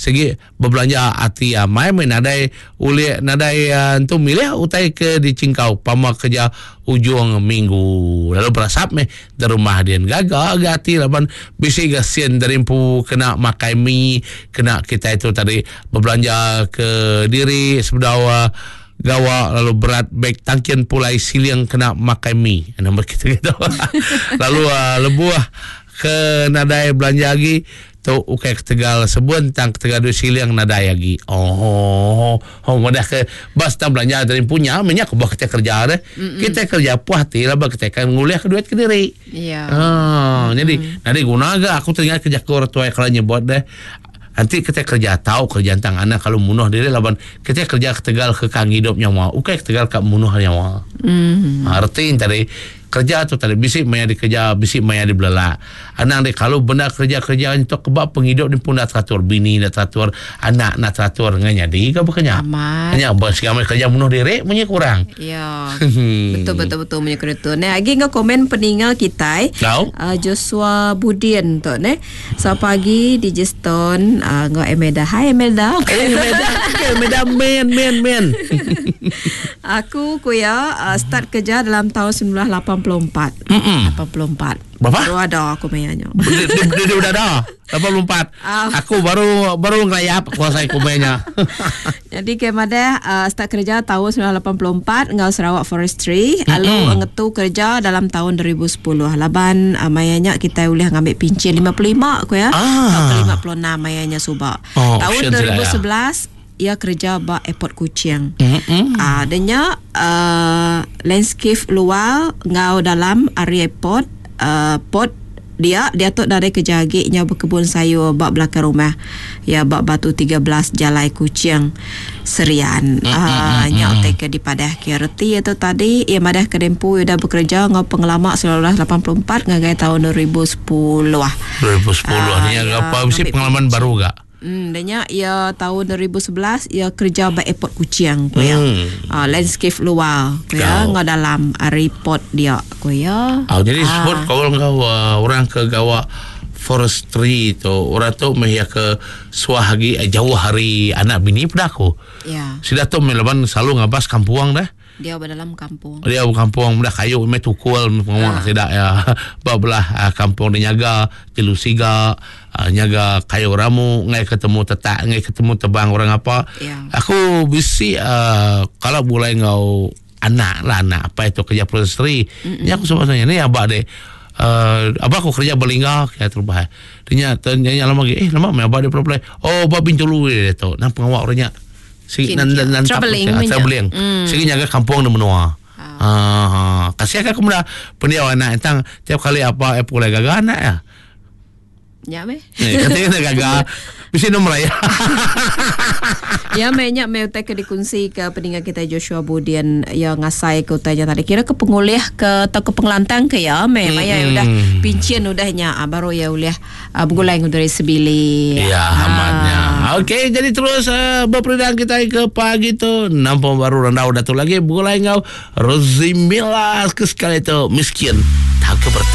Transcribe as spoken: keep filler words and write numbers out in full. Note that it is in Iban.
Segi berbelanja ati amai meh nadai ulih nadai uh, entu milih utai ke dicingkau pama kerja ujung minggu. Lalu berasap meh di rumah dia gaga ga ati laban bisi ga sen dari empu kena makai mi, kena kita itu tadi berbelanja ke diri sebedau uh, gawa lalu berat beg tangkian pulai siling kena makai mi. Nombor kita gitu. Lalu uh, lebuh ke nadai belanja lagi tu ukai ketegal sebun tang ketegal duit siling nadai lagi. Oh, oh madah ke bas tang belanja dari punya minyak bah kita kerja deh. Mm-mm. Kita kerja puas hati lah bah kita kan ngulih ke duit ke diri. Ya. Ah, jadi nadi guna ga aku teringat kerja ku orang tua kalau nyebut deh. Nanti kita kerja tahu kerja tentang anak kalau munuh diri laban kita kerja ketegal ke kang hidup nyawa, ukai ketegal kak munuh nyawa. Mm. Ha, erti tadi kerja tu tadi bisik maya dikerja, bisik maya dibelala. Anak dia kalau benda kerja-kerja untuk kebab penghidup ni pun dah teratur, bini dah teratur, anak nak teratur dengan jadi ke bukannya? Amat. Hanya bos kami kerja munuh diri punya kurang. Ya. Betul betul betul punya kena tu. Nah, lagi ngau komen peninggal kita. Tahu? Uh, Joshua Budien tu ne. Selamat pagi D J Stone uh, ngau Emeda. Hai Emeda. Eh, Emeda, Emeda men men men. Aku kuya uh, start kerja dalam tahun sembilan belas lapan puluh empat. Mm-mm. lapan puluh empat. Berapa? Baru ada aku mainnya. Dia, dia, dia, dia udah ada. lapan puluh empat. Ah. Aku baru baru ngelayap kuasa aku mainnya. Jadi kemada uh, start kerja tahun sembilan belas lapan puluh empat ngau Sarawak Forestry, lalu ngetu kerja dalam tahun dua ribu sepuluh. Laban uh, mayanya kita boleh ngambil pincin lima puluh lima aku ya. Ah. Atau lima puluh enam mayanya subak. Oh, tahun option dua ribu sila ya. sebelas ia kerja ba airport Kuching. Mm-mm. Ah, denya uh, landscape luar ngau dalam area airport uh, port dia dia tu dari kerja agi nya berkebun sayur bak belakang rumah. Ya bak Batu tiga belas Jalai Kuching Serian. Mm, Ah, mm, mm, nya mm. utai ke dipadah ke reti itu tadi ia madah ke dempu udah bekerja ngau pengelama sembilan belas lapan puluh empat ngagai tahun dua ribu sepuluh. dua ribu sepuluh Ah, ni ya, apa mesti ngambil pengalaman pincin. baru gak? Hmm, danya ia tahun dua ribu sebelas ia kerja ba airport Kuching ku ya. Hmm. Ah, landscape luar ku ya, Kau. ngau dalam report dia ku ya. Ah, jadi Ah. sebut kau kau uh, orang ke gawa forestry tu, orang tu meh ya ke suah lagi eh, jauh hari anak bini pada aku. Ya, Sudah tu melaban selalu ngabas kampuang dah. dia berdalam kampung. Dia kampung dah kayu meh tukul pengawak Ah. tidak ya. Babelah uh, kampung dia nyaga jelu siga, uh, nyaga kayu ramu, ngai ketemu tetak, ngai ketemu tebang orang apa. Ya. Aku bisi uh, kalau mulai ngau anak lah anak apa itu kerja forestry. Ni aku sebenarnya ni abak deh. Uh, abah aku kerja berlingga kayak terbah. Dia nya lama lagi eh lama me abah dia play. Oh abah Bintulu dia tu. Nang pengawak orangnya. Sigi Kin- nan nan nan travelling tap- punya. travelling. Hmm. Sigi nyaga kampung di menua. Ah, kasih aku mula pendiau anak tentang tiap kali apa eh pulai gagal anak ya. Ya meh. Eh, katanya nak gagal. Mesti nombor ya. Ya meh nya meh utai ke dikunci ke peninggal kita Joshua Budian yang ngasai ke utainya tadi. Kira ke pengulih ke atau ke pengelantang ke ya meh. Maya Mm-mm. udah pincin udahnya ah, baru ya ulih ah, bergulai dari sebili. Ya, amatnya. Okey, jadi terus uh, berperindang kita ke pagi tu. Nampak baru randau datu lagi bergulai ngau Rozimila ke sekali tu miskin tak ke bertahun.